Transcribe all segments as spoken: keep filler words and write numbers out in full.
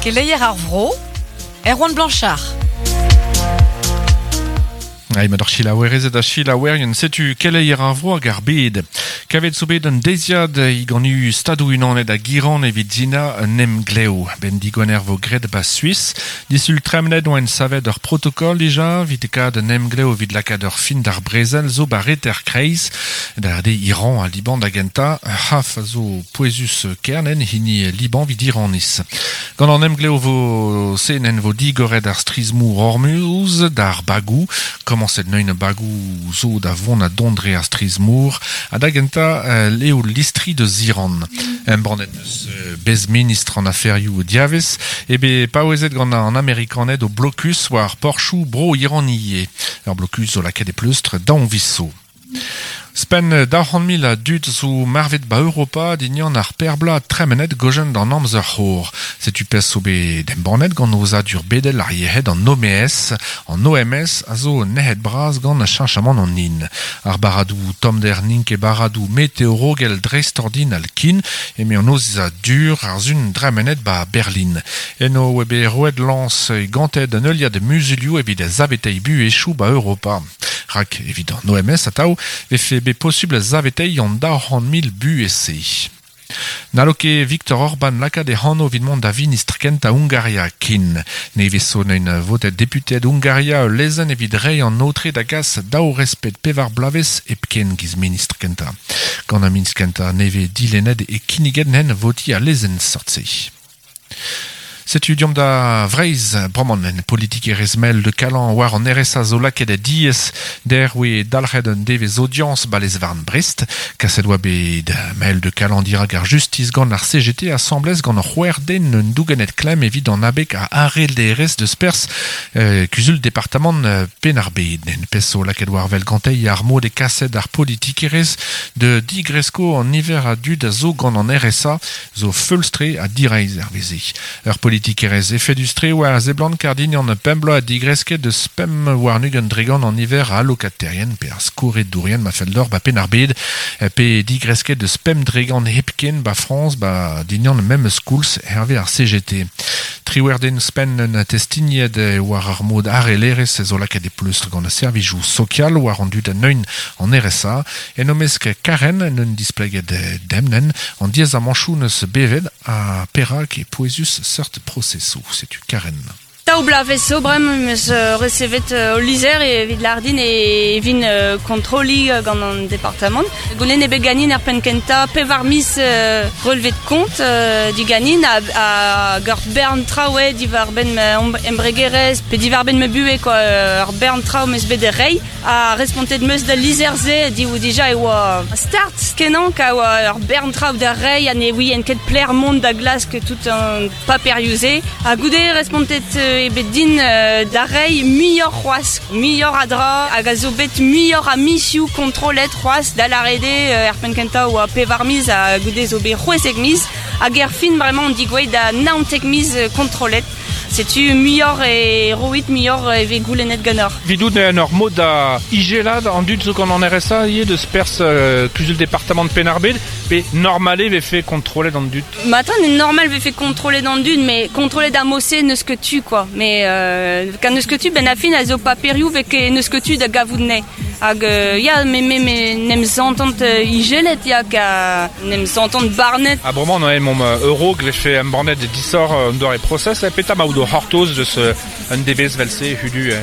Keleier ar vro, Erwan Blanchard. Ai ma d'ar chilaouerezet a chilaouerien, setu keleier ar vro hag ar bed. Kavet zo bet un deiziad i gant u stadou unanet a giran evit zina un emglev. Ben digoner vo gret ba Suisse. Disul tremnet oa en savet ur protokol dija, vit kad un emglev evit lakaat ur fin d'ar brezel zo ba reter kreiz. Da de Iran a Liban da genta, haf zo poezus kernen hini Liban vid Iranis. Gant an emglev vo senen vo digoret ar strizmour Hormuz, d'ar bagou, komañset neun bagou zo da vont a dondre ar strizmour, a da genta euh, leo listri de Ziran. Embannet eus euh, bez ministr an aferioù diavez, ebe paouezet gant an Amerikaned o blokus war porchou bro Iranie. Ur blokus zo lakaet e pleustr daon viso. Spen daou c'hant mil a dud zo marvet ba Europa dignan ar perbla tremenet gojen d'an amzer c'hor. Setu pez zo bet embannet gant ozadur bedel ar yehed an O M S. An O M S a zo nehet braz gant cheñchamant an hin. Ar baradou tomder nink e baradou meteorogel dreistordinal kin eme an ozadur ar zun dremenet ba Berlin. Eno ebe roet lans gantet an euliad muzulioù evit zavetei bu echou ba Europa. Rak evit an O M S atav vefe bet possible zavetei an daou c'hant mil bu ese. N'allo ket Viktor Orban lakaat e c'hano evit mont da vinistr kentañ Hungaria kin. Nevez zo neun votet deputed Hungaria ul lezenn evit reiñ an aotre da gas daou respet pevar bloavezh hepken giz ministr kentañ. Gant ar ministr kentañ nevez dilennet e kinniget n'hen voti a lezenn sort-se. Setu diomp da Vreizh, bremañ en politikerezh mel de Kalan war an R S A zo lakaet a diez der oe dalc'het un devezh audience ba lez-varn Brest. Kaset oa bet mel de Kalan dirak ar justiz gant ar C G T asamblez gant ar c'hwec'h den un dougenet klemm evit an abeg a arel D R S de spers, euh, kuzul departamant, euh, Penn-ar-Bed. En pez zo lakaet war vel gantei ar mod e kaset ar politikerezh de digresko an niver a dud a zo gant an R S A zo feulstre a direiz ar veze. Ur politikerez efedustre war zeblant kardin an pemblo a digresket de spem war nug an dregan an niver a allokaterien pe ar skoret dourien ma fell d'or ba Penn-ar-Bed pe digresket de spem dregan hepken ba France ba dignan mem schools herve ar C G T. Triwerden spen un testinied war ar mod arelerez zo lakaet e pleustr gant ar servijoù sokial war an dud an neun an R S A en omesk karen un displeget demnen an diez amanchou neus bevet a perak e poezus seurt proceso. Setu Karen. Daou bloavezh zo bremañ em eus, euh, resevet, euh, ul lizher evit lardin e vin, euh, kontrolli, euh, gant an departamant. Goulenn eo bet ganin ar penn kentañ pevar miz, euh, relevé de compte, euh, diganin a, a ur bern traoù diwar benn ma em-, embregerezh pe diwar benn ma buhez, quoi, euh, ur bern traoù 'm eus bet da reiñ. A respontet 'm eus da lizher-se div dija e oa start kenañ ka oa ur bern traoù da reiñ ha ne ouien ket pler mont da glask tout an paperioù-se. Ha goude respontet, euh, e bet din, euh, da reiñ muioc'h c'hoazh, muioc'h a dra, hag a zo bet muioc'h a mizioù kontrollet c'hoazh da lâret eo, euh, er penn kentañ oa pevar miz ha goude zo bet c'hwezek miz, hag er fin bremañ on digouezhet da naontek miz, euh, kontrollet. Setu muioc'h e roit, muioc'h e vez goulennet ganeoc'h. Vidout en ur mod da igelad an dud zo gant an R S A ivez deus perzh, euh, kuzul departamant Penn-ar-Bed, pe normale vefe kontrollet an dud? Matin, normal vefe kontrollet an dud, mais kontrollet ar mod-se n'eus ket tu, quoi. Mais, euh, kan n'eus ket tu, ben a fin a zo paperioù vez ket n'eus ket tu da gavout ne. Hag, euh, ya, me, me, me n'em zantant, euh, igelet, ya, ka n'em zantant barnet. Ah, bremañ, on a mom, euh, euro vefe embannet disor, euh, an doare process, e peta ma out o c'hortoz deus, euh, un devez velse hudu, euh,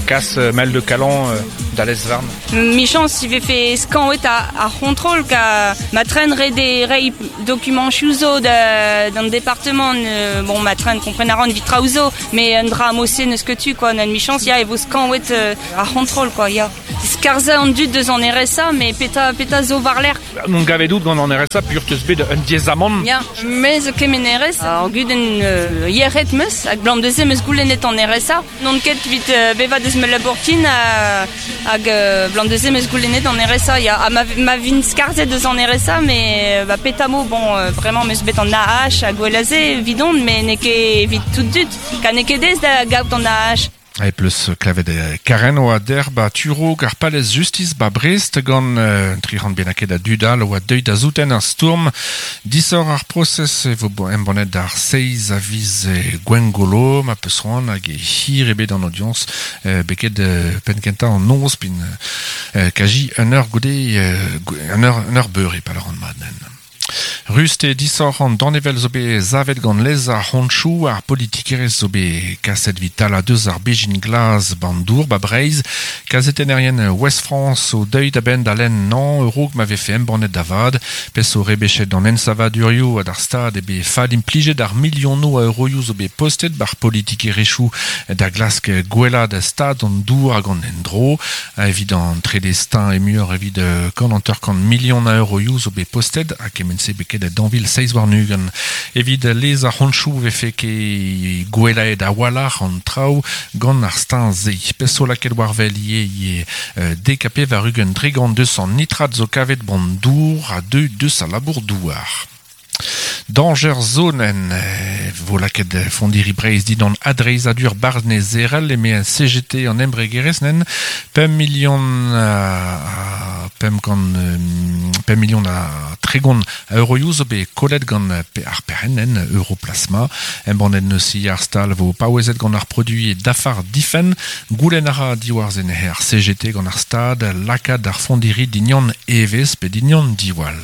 kas, euh, mel de Kalan, euh, da lez-varn. Michans, si vefe skañvet a, ar c'hontrol ka ma tren re de rei dokument chouzo da, d'an département, euh, bon, ma tren kompren a ran vit traoù mais un dra mose n'eus ket tu, quoi, nan michans, ya, e vo skañvet, euh, ar c'hontrol, quoi, ya. Skarza an dud deus an R S A, mais peta, peta zo war l'air. Non gavet out gant an R S A, pur teus bet un diezamant. Ya, me zo kemen R S A, ar gudenn, euh, yec'hed meus, hag blam deze meus goulennet an R S A. Non ket vit, euh, beva deus me labourtin, euh, hag, euh, blam deze meus goulennet an R S A. Ya, ha ma, ma vin skarzet deus an R S A, mais, euh, ba petamo, bon, euh, vraiment meus bet an A H hag gwelaze vidon, mais n'eo ket evit tout dud, ka n'eo ket dez da gaout an A H. E pleus klevet Karen oa der ba Turo ar palez Justice ba Brest gant euh, tric'hant bennaket a dudal oa deuet da zouten ar stourm. Disor ar proses e vo embannet ar seiz a viz Gwengolo ma peus c'hoant hag e hir ebet an audience euh, beket euh, penn kentañ an noz pin euh, kaji un eur goude euh, un eur, un eur beure pa an madnen. Rust e disoc'h an danevel zo bet zavet gant lez ar c'honchou ar politikerez zo bet kaset vital a deus ar bejin glaz bandour ba Breiz, kazetennerien Ouest France o deuit a ben da len nan eurog ma vefe embannet da vad, pes o rebechet an ensavadurioù ad ar stad e be fad implijet ar milionoù a euroioù zo bet postet bar politikerezhioù da glask gwella da stad an dour hag an endro, evit an tredestin e muioc'h evit kant hanter kant milion a euroioù zo bet postet ha kement-se beket da danvil seiz warn-ugent. Evit lez ar c'honchou vefe ket gwelaet a walc'h an traoù gant ar stin ze. Peso laket war vel ie ie euh, dek ha pevar-ugent dregant deus an nitrat zo kavet ban dour a deu deus a labour douar. Danger zonen vo laket fondiri Breiz dindan adreizhadur barnezerel eme C G T an embregerezh nen pemp million a pemp kant pemp million a tregont a euroioù zo bet kollet gant ar perc'henn Europlasma. Embannet neus i ar stal vo paouezet gant ar produit dafar difen goulenn a ra diwar-zen ar C G T gant ar stad lakaat ar fondiri dindan evezh pe dindan diwall.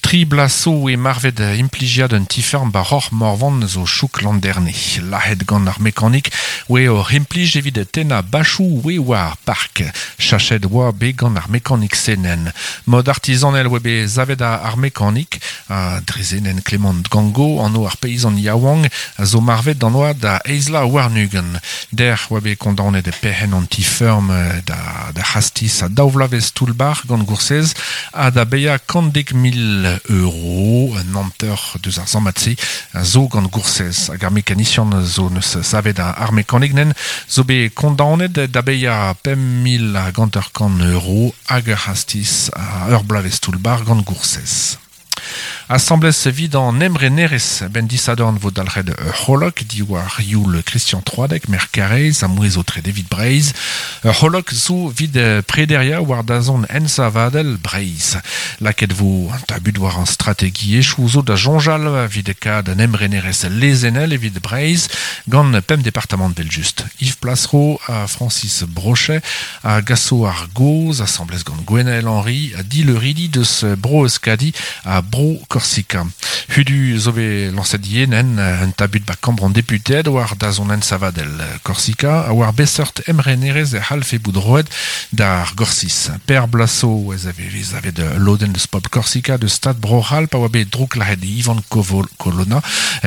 Tri blaso e marvet implijiad un tiferm ba roc'h morvan zo chouk landerne. Lahet gant ar mekanik oe ur implij evit tenna bachou oe war park. Chachet oa be gant ar mekanik senen. Mod artisanel oe be zavet ar mekanik a drezenen Clément Gango an o ar peizan yaouang a zo marvet d'an oa da eizla warnugen. Der oa be kondaonet e perc'henn an tiferm da, da c'hastiz a daouvlavez toullbar gant goursez ha da beia kant dek mil euro, un hanter deus ar zammat-se a zo gant goursez hag ar mekanisian zo neus savet ar mekanik nen zo bet kondaonet da beia pemp mil hag hanter kant euro hag ar c'hastiz a ur bloavezh toullbar gant goursez. Assemblez evit an emrenerez ben disadorn vo dalc'het ur c'holok diwar youl Christian Troadec, mer Karez, a mouez o tre evit Breiz. Ur c'holok zo vid prederia war dazon ensavadel Breiz. Laket vo an tabut war an strategiezhioù zo da soñjal evit kad an emrenerez lezenel evit Breiz gant pemp departamant vel just. Yves Plasseraud a Francis Brochet a Gasso ar Goz, assemblez gant Gwenaël Henry a Dileuridi deus Bro Euskadi a Bro Korsika. Hudu zo bet lañset yen un tabut ba kambr an deputeed war dazont ensavadel Korsika a war beseurt emrenerez e c'hallfe bout roet d'ar Gorsiz. Per Blasso ez ave vez avet lodenn deus pobl Korsika deus stad Bro-C'hall pa oa bet drouklahet Ivan Kovol Colonna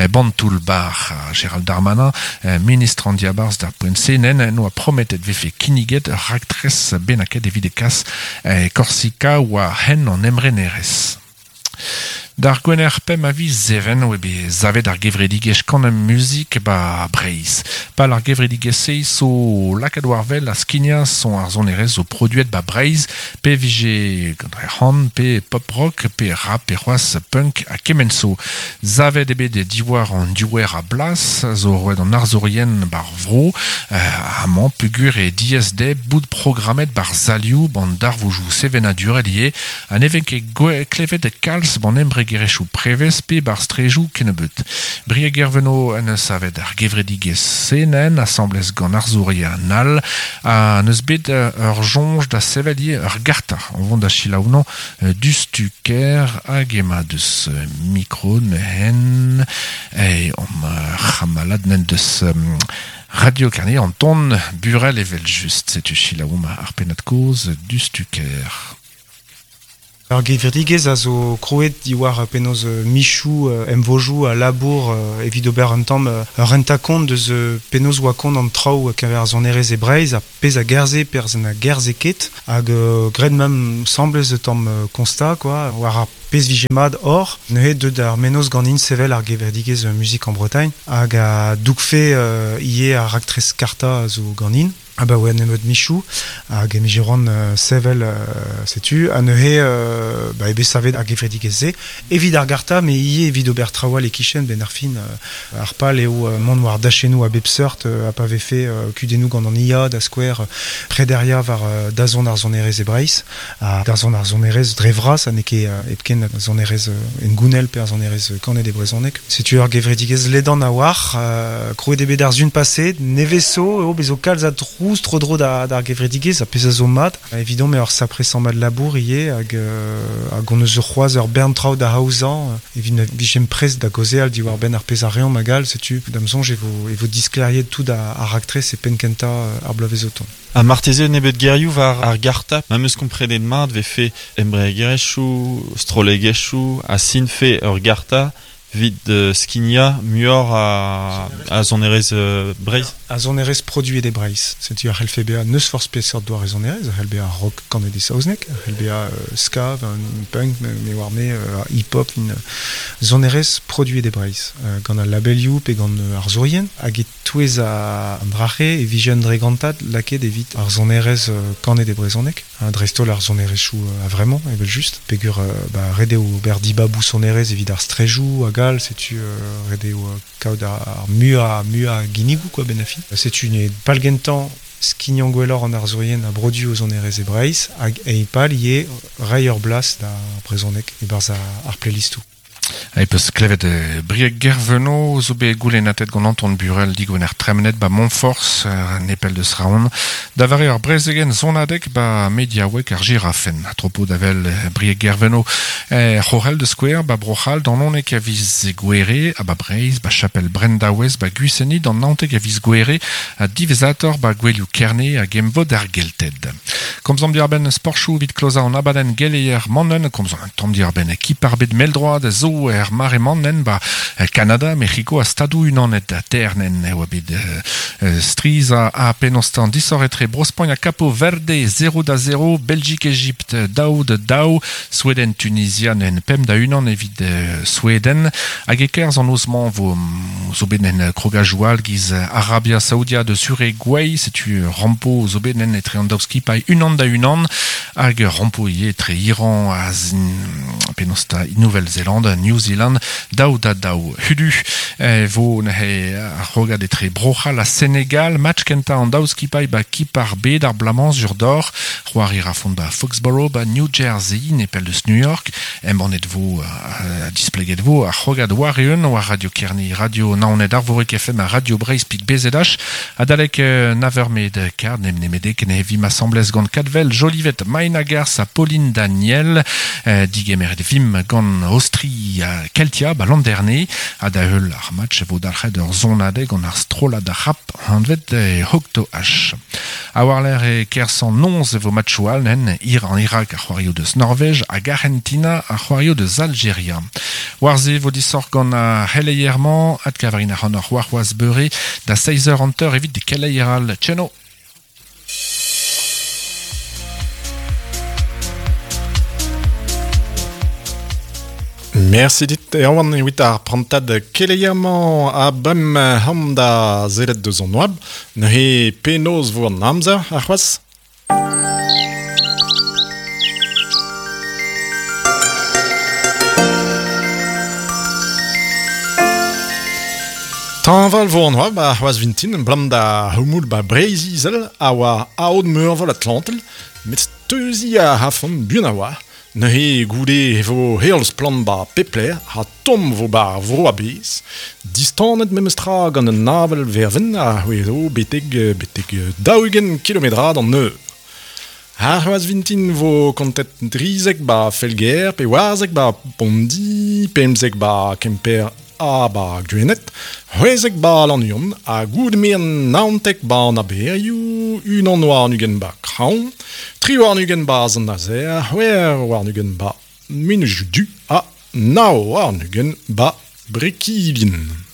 ban toull-bar Gérald Darmanin ministr an diabarzh d'ar poent-se nen noa prometet vefe kinniget ur raktres bennaket evit e kas Korsika oa hen an emrenerez. D'ar gwener pemp a viz zeven oe bet zavet ar gevredigezh kan muzik ba Breiz. Pal ar gevredigezh-se zo lakaat war wel a skignañ son ar sonerezh zo produet ba Breiz, pe vije gant ar c'han, pe pop rock, pe rap, pe c'hoazh punk ha kement zo. Zavet eo bet diwar an diouer a blas, zo roet an arzourien bar vro, euh, amañ pugur e diaes dezhe bout programmet bar zalioù ban darvoujou sevenadurel ivez, ha ne vez ket klevet kalz ban embregerezhioù prevez pe bar strejoù kennebeut. Brieg Erveno en eus savet ar gevredigezh senen, asamblez gant arzourien all, ha neus bet ur soñj da sevel ivez ur garta. On vont da selaounañ dustuker hag ema deus mikro neuhen e om c'hamalad nen deus Radio Carnet Anton Burel evel just. Setu selaoump ar pennad-kaoz dustuker. Ar gevredigezh a zo krouet diwar penaos michoù emvojoù a labour evit ober un tamm ur renta-kont deus penaos oa kont an traoù keñver ar sonerezh e Breizh ha pezh a gerzhe, perzh a gerzhe ket hag graet ma'm semblez tamm constat quoi war ar pezh vije mat hor neuze deut ar mennozh ganin sevel ar gevredigezh Musique en Bretagne hag a dougfe ivez ar raktres karta a zo ganin. Ah ba oa nemet michou hag emijeron uh, sevel uh, setu a neuze uh, ba ebe savet ar gevredigezh-se evit ar garta me ivez evit ober traoù e kichen ben ar fin uh, ar pal eo uh, mont war dachennoù a bep seurt uh, a pa vefe uh, kudennoù gant an I A da skouer uh, prederia war uh, dazont ar sonerezh e Breizh ha dazont ar sonerezh dre vras ha n'eo ket uh, hepken ar sonerezh uh, en gounel pe ar sonerezh uh, kanet e brezhoneg. Setu ur gevredigezh ledan a war uh, krouet eo bet ar sun paset neveso eo bezo kalz a trouz tro dro da d'ar gevredigezh a pezh a zo mat. Evidon me ur sapre sammad labour ivez hag euh, hag on eus ur c'hoazh ur bern traoù da aozañ evit na vijem prest da gaozeal diwar benn ar pezh a reomp hag all setu da'm soñj e vo e vo disklêriet tout ar, ar raktres e penn kentañ ar bloavezh o tont. A marteze nebet gerioù war ar garta ma meus komprenet mat vefe embregerezhioù, strollegezhioù a sinfe ur garta vit uh, skinia muioc'h a, a sonerezh uh, Breizh. A sonerezh produet e Breizh. Setu ar c'hellfe bezañ n'eus forzh peseurt doare sonerezh, ar c'hell bezañ rock kanet e saozneg, ar c'hell bezañ uh, ska, un punk, me war me, uh, hip-hop, un sonerezh produet e Breizh. Uh, gant al labelioù pe gant uh, ar zourien, hag e-touez an drache e vije un dregantad lakaet evit ar sonerezh uh, kanet e brezhoneg, hein, dreist-holl ar sonerezhioù uh, a vraiment, evel just. Pegur uh, ba, ret eo ober dibaboù sonerezh evit ar strejoù hag all, setu uh, ret eo uh, kaout ar, ar mua mua ginnigoù quoi ben afi. Setu ne pal gentañ skignañ gwelloc'h an arzourien a brodu o sonerezh e Breizh hag eipal ivez reiñ ur blas da brezhoneg e-barzh ar playlistoù. E peus klevet eh, Brieg Gerveno zo bet goulennatet gant Anton Burel digwener tremenet ba Montforce uh, nepell deus Raon da vare ur brezegen zonadeg ba mediaoueg ar girafen. A tropo davel Brieg Gerveno eh, c'horel de Square ba Brochal d'an onek a viz gwere a ba Breizh ba Chapel Brendawez ba Guiseni d'an naontek a viz gwere a divezator ba Gwelioù Kerne hag emvod ar Gelted. Komzomp diarbenn sportchou vit kloza an abadenn geleier mannen, komzomp un tamm diarbenn ekip ar bet meldroad zo er mare mannen ba Kanada, Mexiko a Stadoù Unanet a ternen eo bet uh, striz a, a penostan disoc'h etre Bro-Spagn ha Capo Verde zero da zero, Belgique Egypte daou da daou, Sweden Tunisia nen pemp da unan evit uh, Sweden hag e kerzh an noz-mañ vo zo bet nen krogajoù all giz Arabia Saoudia de Uruguay, setu rampo zo bet nen etre an daou skipailh unan da unan hag rampo ivez etre Iran ha penosta Nouvelle-Zélande, New Zealand, daou da daou. Hudu eh, vo neuze ar rogad etre Brochal ha Senegal, match kentañ an daou skipailh ba kip ar bed ar blamañ zur d'or, c'hoari ra font ba Foxborough ba New Jersey, nepell deus New York, embannet vo, uh, displeget vo ar rogad war eeun war Radio Kerne, Radio Naoned Arvorig F M ha Radio Breizh pik B Z H, adalek uh, naver med kard, nem nemedek ne vim asamblez gant Kadvel, Jolivet, Maina Gars ha Pauline Daniel, uh, digemeret vim gant Austri a Keltia ba Landerne, ha da heul ar match vo dalc'het ur zonadeg gant ar strollad ar rap hanvet e Hocto H. A war l'air e kerzh an noz e vo matchoù all nen Iran Irak ar c'hoario deus Norvège hag Argentina ar c'hoario deus Algeria. War ze vo disoc'h gant ar c'heleier-mañ adkavarin ar c'hant ur warc'hoazh beure da seizh eur hanter evit de keleier all. Tcheno! Merci dit Erwan evit ar prantad keleier-mañ a bem ham da zelet deus an oabl, neuze penaos vo an amzer ar c'hoazh? Tañval vo an oabl ar c'hoazh vintin, blam da houmoul ba Breizh Izel a oa aod meurvol Atlantel, met steuzi a hafont buan a oa. Neuze goude e vo heol splann ba pepler ha tomm vo ba ar vro a-bezh. Distanet memes tra gant un avel verven a c'hwezo betek, betek daou-ugent kilometrad an eur. Ar c'hoazh vintin vo kontet drizek ba Felger, pe warzek ba Pondi, pemzek ba Kemper ha ba Gwened, c'hwezek ba Lannuon, ha goude-merenn naontek ba an Aberioù, unan warn-ugent ba Kraoñ, tri warn-ugent ba Sant-Nazer, c'hwec'h warn-ugent ba Menezioù Du ha nav warn-ugent ba Brekilien.